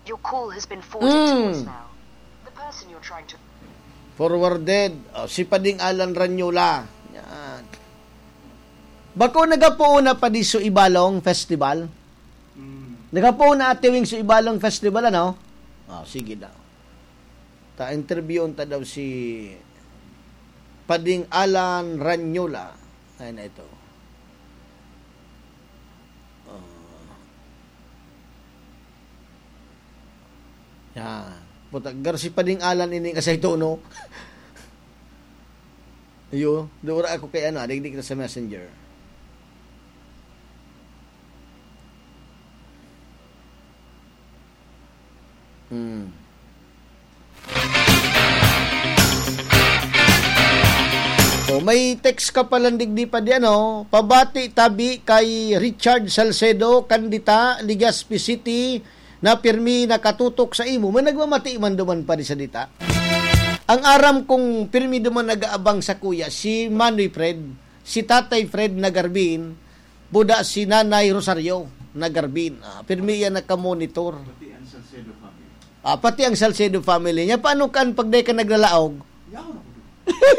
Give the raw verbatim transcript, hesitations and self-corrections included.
Your call has been forwarded to Mm. voicemail. The person you're trying to Forwarded. Oh, si Pading Alan Ranyola. Yan. Bako nagapoon na pa di so Ibalong Festival? Mm. Nagapoon na Ate Wing so Ibalong Festival, ano? Oh, sige daw. Ta interviewon ta daw si Pading Alan Ranyola. Ay na ito. Oh. Yan. Puta, gar si Pading Alan ining asay tono. Iyo, dura ako kay ano, digdi kita sa messenger. Hmm. Oh, may text ka pala digdi pa di ano, pabati tabi kay Richard Salcedo, Candita, Legazpi City, na pirmi nakatutok sa imo. May nagmamati man duman pa di sa dita. Ang aram kong pirmi duman nag-aabang sa kuya, si Manoy Fred, si Tatay Fred na Garbin, buda si Nanay Rosario na Garbin. Ah, pirmi yan nakamonitor. Pati ang Salcedo family. Ah, pati ang Salcedo family niya. Paano kan pag di ka naglalaog? Yaon ako doon.